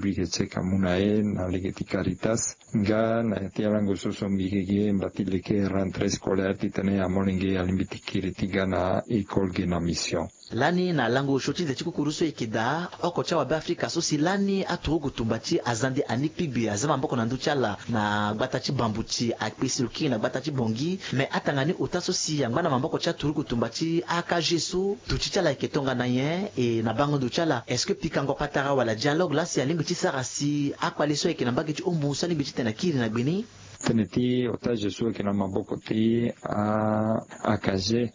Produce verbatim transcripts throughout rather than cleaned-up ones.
Mbi yeke check amu na e na lege ti Caritas. Nga na ya ti alango so so mbi yeke gi e mba ti leke rentrée scolaire titene amolenge alingbi ti kiri ti ga na école ge na mission. Lani na lango osio ti nze ti kukuru so e yeke daa oko ti awabe afrika so si lani aturugu tumba ti azande ani kpigbi aza maboko na ndö ti ala na gbata ti bambuti akpe si lo kiri na gbata ti bongi. Me atanga ni ota so si angba na maboko ti aturugu tumba ti akage so duti ti ala ayeke tongana nyen e na bango ndo ti ala est-ce que pikango patara wala dialogue laa si alingbi ti sara si akpale so ayeke na mbage ti ombu so alingbi titene akiri na gbe ni? Tënë ti otage so ayeke na maboko ti akage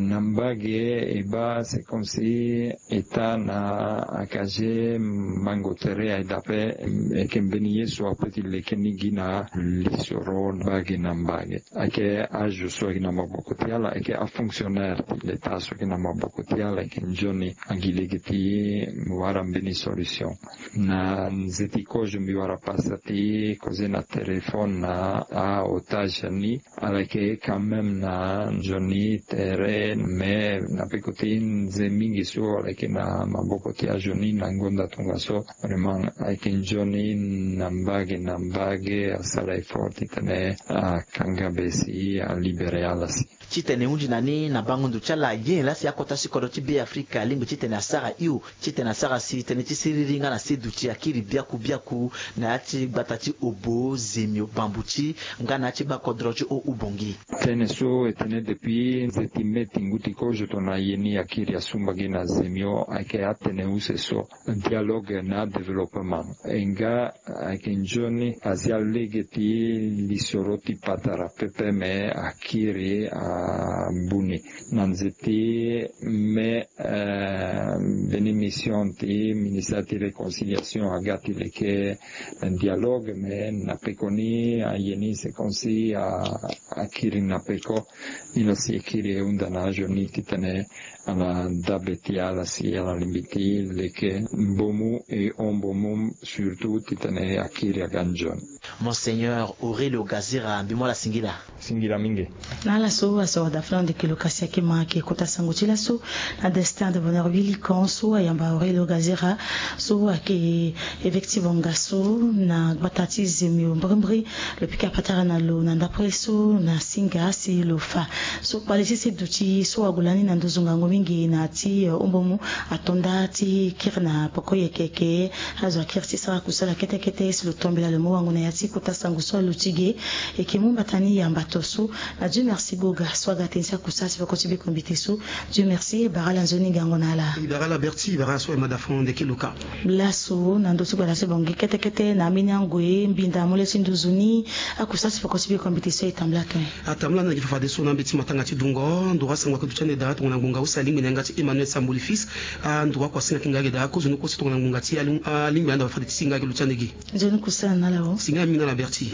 na mbage e baa c'est comme si eta na akage mango tere aye daa ape. Ayeke mbeni ye so ape ti leke ni gi na lisoro mbage na mbage. Ayeke azo so ayeke na maboko ti ala ayeke afonctionnaire ti leta so ayeke na maboko ti ala ayeke nzoni angi lege ti wara mbeni solution. Na nze ti kozo mbi wara pasa ti koze na téléphone na aotage ni. Ala yeke quand même na nzoni tere mais na peko ti nze mingi so ala yeke na maboko ti azo ni na ngonda tongaso. Vraiment ayeke nzoni na mbage na mbage asara effort titene akanga be si alibere ala si. Titene e hunzi na ni na bango ndo ti ala ye laa si akota si kodro ti be afrika alingbi titene asara hio titene asara si tënë ti siriri nga na se duti akiri biaku biaku na ya ti gbata ti obo zemio bambuti nga na ya ti gbakodro ti o ubongi. Tënë so e tene depuis nze ti mai ti ngu ti kozo tongana aye ni akiri asumba gi na zemio ayeke atene use so dialogue na développement e nga ayeke nzoni azia lege ti lisoro ti patara pepe me akiri abu ni na nze ti mai. Mbeni mission ti ministère ti réconciliation aga ti leke dialogue me na peko ni aye ni c'est comme si akiri na peko. Ni lo si e kiri e hunda na azo ni titene ala dabe ti ala si ala lingbi ti leke mbomu e hon mbomu surtout titene akiri aga nzoni. Monseigneur Aurelio Gazira, mbi mu ala singila. Singila mingi. Na ala so asoro da fana ndeke lo kasi ayeke ma ayeke kota sango ti laso na destin de bonheur huit licon so ayamba Aurelio Gazira so ayeke évêque ti bonga so na gbata ti zemio mbrimbri. Lo pika patara na lo na ndapre so na singa si lo fa so kpale ti se duti so ague lani na nduzu ngangu mingi na ya ti ombomu ato nda ti kiri na poko yeke yeke azo akiri ti sara kusala kete kete si lo tombela lo mu wango na ya ti kota sango so aluti ge. Eke mu mbata ni yamba to so na dieu merci goga so aga tënë ti akusa ti poko ti biko mbiti so. Dieu merci bara ala nzoni gango na ala. Bara ala berti bara ala so aye mada fon ndeke luka. Laso na ndö ti gbala ti bongi kete kete na ambeni angue mbinda amolio ti nduzu ni. Akusa ti poko ti biko mbiti so e tambula tene. Atambula na gi fafadeso na mbeti matanga ti dungo nduru asango ake duti ande dara tongana ngbonga use alingbi na yanga ti emmanuel samboli fils. Anduru ako asinga ki nga ake dara kozo ni kosi tongana ngbonga ti alingbi ande fade ti singa ake luti ande gi. Nzoni kusala na ala o singa mingi na ala berti.